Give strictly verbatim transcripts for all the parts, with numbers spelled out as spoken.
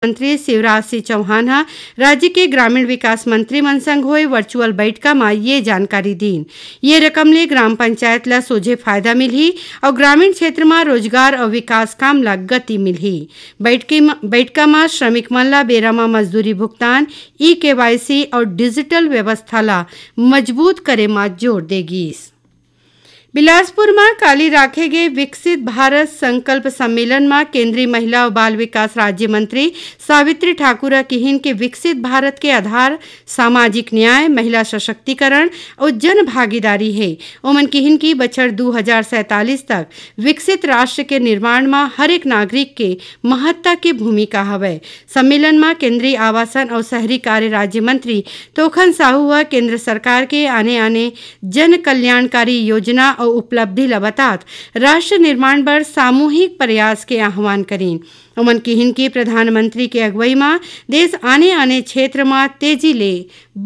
मंत्री शिवराज सिंह चौहान ह राज्य के ग्रामीण विकास मंत्री मन संग होए वर्चुअल बइठका म ये जानकारी दीन। ये रकम ले ग्राम पंचायत ल सोझे फायदा मिलही अउ ग्रामीण क्षेत्र म रोजगार अउ विकास काम ल गति मिलही। बइठकी म, बइठका म श्रमिक मन ल बेरा म मजदूरी भुगतान, ई केवाईसी अउ डिजिटल व्यवस्था ल मजबूत करे म जोर दे गीस। बिलासपुर म काली राखे गे विकसित भारत संकल्प सम्मेलन म केंद्रीय महिला अउ बाल विकास राज्य मंत्री सावित्री ठाकुर ह किहिन के विकसित भारत के आधार सामाजिक न्याय, महिला सशक्तिकरण अउ जन भागीदारी हे। ओमन किहिन कि बछर दू हजार सैंतालीस तक विकसित राष्ट्र के निर्माण म हर एक नागरिक के महत्ता के भूमिका हवय। सम्मेलन म केंद्रीय आवासन अउ शहरी कार्य राज्य मंत्री तोखन साहू ह केंद्र सरकार के आने-आने जन कल्याणकारी योजना अउ उपलब्धि ल बतात राष्ट्र निर्माण बर सामूहिक प्रयास के आह्वान करीन। ओमन किहिन कि प्रधानमंत्री के अगुवई म देश आने-आने क्षेत्र म तेजी ले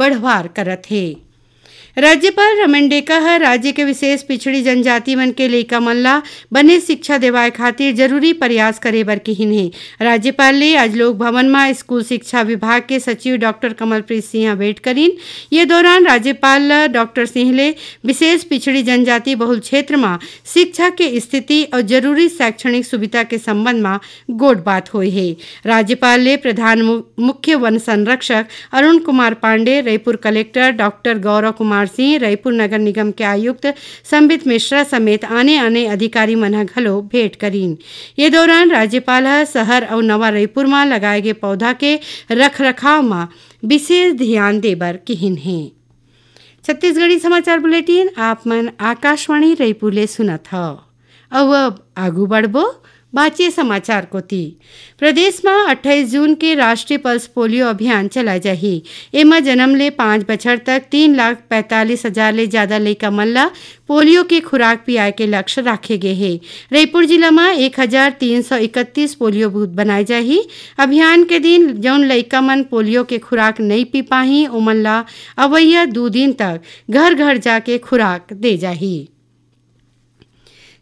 बढ़वार करत हे। राज्यपाल रमन डेका ह राज्य के विशेष पिछड़ी जनजाति मन के लइका मन ला बने शिक्षा देवाए खातिर जरूरी प्रयास करे बर किहिन हे। राज्यपाल ले आज लोक भवन म स्कूल शिक्षा विभाग के सचिव डॉक्टर कमलप्रीत सिंह ह भेंट करिन। ये दौरान राज्यपाल ल डॉक्टर सिंह ले विशेष पिछड़ी जनजाति बहुल क्षेत्र म शिक्षा के स्थिति अउ जरूरी शैक्षणिक सुविधा के संबंध म गोठ बात होए हे। राज्यपाल ले प्रधान मु-, मुख्य वन संरक्षक अरुण कुमार पांडे, रईपुर कलेक्टर डॉक्टर गौरव कुमार सिंह, रईपुर नगर निगम के आयुक्त संबित मिश्रा समेत आने-आने अधिकारी मन ह घलो भेंट करीन। ये दौरान राज्यपाल ह शहर अउ नवा रईपुर म लगाए गे पौधा के रखरखाव म विशेष ध्यान दे बर किहिन हे। छत्तीसगढ़ी समाचार बुलेटिन आप मन आकाशवाणी रईपुर ले सुनत हव। अउ अब आगू बढ़बो बाचे समाचार कोति। प्रदेश म अट्ठाईस जून के राष्ट्रीय पल्स पोलियो अभियान चलाए जाही। एमा जन्म ले पाँच बछर तक तीन लाख पैंतालीस हजार ले जादा लइका मन ल पोलियो के खुराक पियाए के लक्ष्य राखे गे हे। रईपुर जिला म एक हजार तीन सौ इकतीस पोलियो बूथ बनाए जाही। अभियान के दिन जउन लइका मन पोलियो के खुराक नइ पी पाही, ओमन ल अवइया दू दिन तक घर-घर जाके खुराक दे जाही।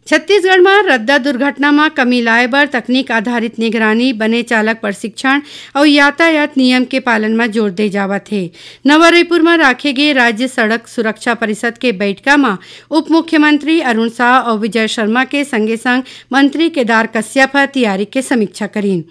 छत्तीसगढ़ म रद्दा दुर्घटना म कमी लाए बर तकनीक आधारित निगरानी, बने चालक प्रशिक्षण अउ यातायात नियम के पालन म जोर दे जावत हे। नवा रईपुर म राखे गे राज्य सड़क सुरक्षा परिषद के बइठका म उप मुख्यमंत्री अरुण साव अउ विजय शर्मा के संगे-संग मंत्री केदार कश्यप ह तियारी के समीक्षा करीन।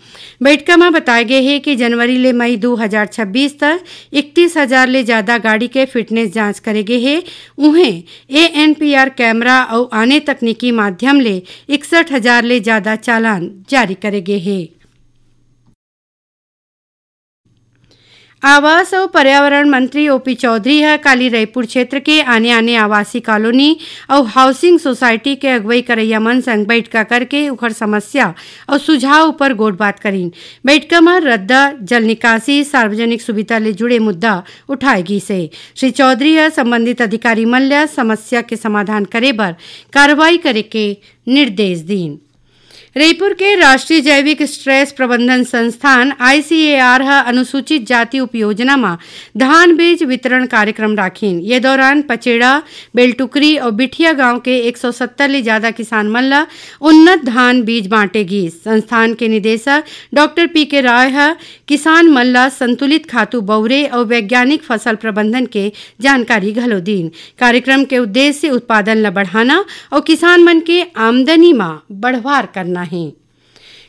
बइठका म बताए गे हे कि जनवरी ले मई दू हजार छब्बीस तक इकतीस हजार ले जादा गाड़ी के फिटनेस जांच करे गे हे। उहें, एएनपीआर कैमरा अउ आने तकनीकी माध्यम ले इकसठ हजार ले जादा चालान जारी करे गे हे। आवास अउ पर्यावरण मंत्री ओपी चौधरी ह काली रईपुर क्षेत्र के आने-आने आवासीय कॉलोनी अउ हाउसिंग सोसाइटी के अगुवई करइया मन संग बइठका करके उखर समस्या अउ सुझाव उपर गोठबात करीन। बइठका म रद्दा, जल निकासी, सार्वजनिक सुविधा ले जुड़े मुद्दा उठाए गीस हे। श्री चौधरी ह संबंधित अधिकारी मन ल समस्या के समाधान करे बर कार्रवाई करे के निर्देश दीन। रईपुर के राष्ट्रीय जैविक स्ट्रेस प्रबंधन संस्थान, आईसीएआर, ह अनुसूचित जाति उपयोजना म धान बीज वितरण कार्यक्रम राखिन। ये दौरान पचेड़ा, बेलटुकरी अउ बिठिया गांव के एक सौ सत्तर ले जादा किसान मन ल उन्नत धान बीज बांटे गीस। संस्थान के निदेशक डॉक्टर पी के राय ह किसान मन ल संतुलित खातू बउरे अउ वैज्ञानिक फसल प्रबंधन के जानकारी घलो दीन। कार्यक्रम के उद्देश्य उत्पादन ल बढ़ाना अउ किसान मन के आमदनी म बढ़वार करना हे।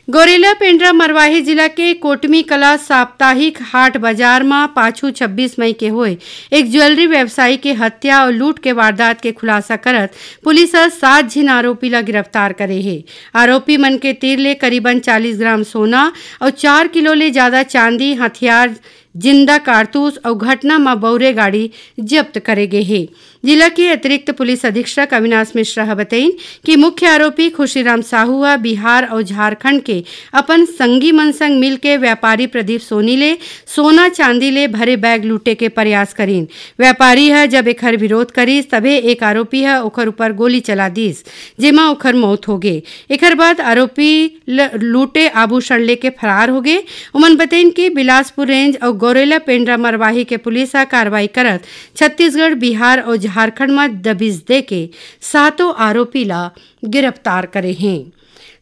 गौरेला पेंड्रा मरवाही जिला के कोटमी कला साप्ताहिक हाट बाजार म पाछू छब्बीस मई के होए एक ज्वेलरी व्यवसायी के हत्या अउ लूट के वारदात के खुलासा करत पुलिस ह सात झिन आरोपी ल गिरफ्तार करे हे। आरोपी मन के तीर ले करीबन चालीस ग्राम सोना अउ चार किलो ले जादा चांदी, हथियार, जिंदा कारतूस अउ घटना म बउरे गाड़ी जब्त करे गे हे। जिला के अतिरिक्त पुलिस अधीक्षक अविनाश मिश्रा ह बतइन कि मुख्य आरोपी खुशीराम साहू ह बिहार अउ झारखंड के अपन संगी मन संग मिलके व्यापारी प्रदीप सोनी ले सोना चांदी ले भरे बैग लूटे के प्रयास करीन। व्यापारी ह जब एखर विरोध करिस, तभे एक आरोपी ह ओखर ऊपर गोली चला दीस, जेमा ओखर मौत होगे। एखर बाद आरोपी ल-, लूटे आभूषण लेके फरार होगे। ओमन बतइन कि बिलासपुर रेंज अउ गौरेला पेंड्रा मरवाही के पुलिस ह कार्रवाई करत छत्तीसगढ़, बिहार अउ झारखंड म दबिश देके सातों आरोपी ल गिरफ्तार करे हें।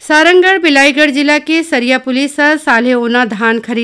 सारंगढ़ बिलाईगढ़ जिला के सरिया पुलिस ह साल्हेओना धान खरीद